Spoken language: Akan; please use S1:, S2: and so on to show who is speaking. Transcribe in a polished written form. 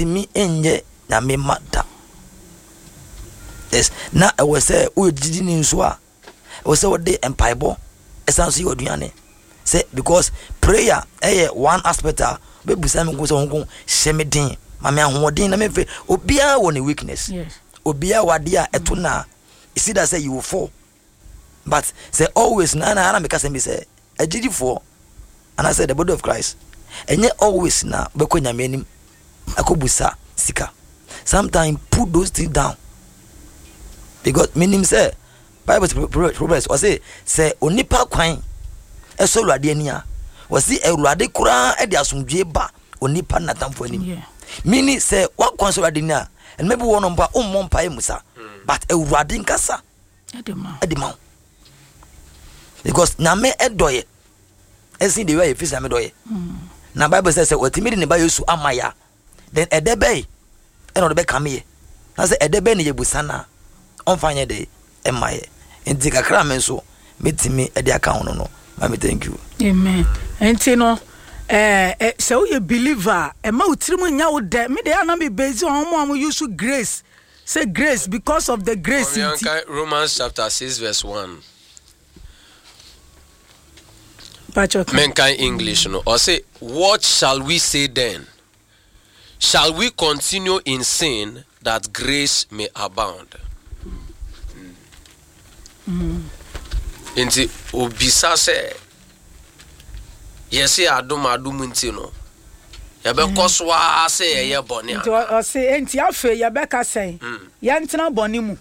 S1: Ntumi nyɛ Nyame mma da. Yes, na ɛwɔ sɛ woyɛ gyidini nso a, ɛwɔ sɛ wode mpaebɔ ɛsan so yɛ aduane. Sɛ because prayer ɛyɛ one aspect a bɛbusa me nko sɛ honko hyɛ me den ma me ahoɔden na memfɛ. Obiara wɔ ne weakness. Obiara wɔ adeɛ a ɛto na it's either sɛ you will fall, but sɛ always na na meka sɛm bi sɛ agyidifoɔ anaasɛ the body of Christ, ɛnyɛ always na wobɛkɔ Nyame anim akɔbusa sika. Sometimes put those things down, because menim sɛ Bible sɛ Proverbs, ɔse sɛ onipa kwan ɛsɔ Awurade ani a, wɔse Awurade koraa de asomdwie ba onipa natamfo anim. Meaning sɛ wakwan sɔ Awurade ani a, ɛnma bi wɔ no mpo a wommɔ mpaeɛ mu sa, but Awurade nkasa ɛde ma wo, because Nyame ɛdɔ yɛ ɛsen de wia yɛ fisi. Nyame dɔ yɛ na Bible sɛ wɔtumi de ne ba Yesu ama yɛ a, then ɛdɛ bɛyi ɛna ɔde bɛkame yɛ, na sɛ ɛdɛ bɛyi ne yɛbusa no a, ɔmfa nyɛ de ɛma yɛ. Nti kakra me nso mɛtumi ɛde aka ho no, mami, thank you.
S2: Amen. Nti no sɛ woyɛ believer a, ɛma wo tirim nya wo dɛ. Me de ana me base on mo a mo use grace, sɛ grace, because of the grace nti.
S3: Romans chapter 6 verse 1. Menkan English no. Ɔse, "What shall we say then? Shall we continue in sin that grace may abound?" Nti obisa sɛ yɛse adom adom nti no, yɛbɛkɔ so ara sɛ yɛyɛ bɔne?
S2: Nti ɔse, enti afei yɛbɛka sɛn? Yɛntena bɔne mu?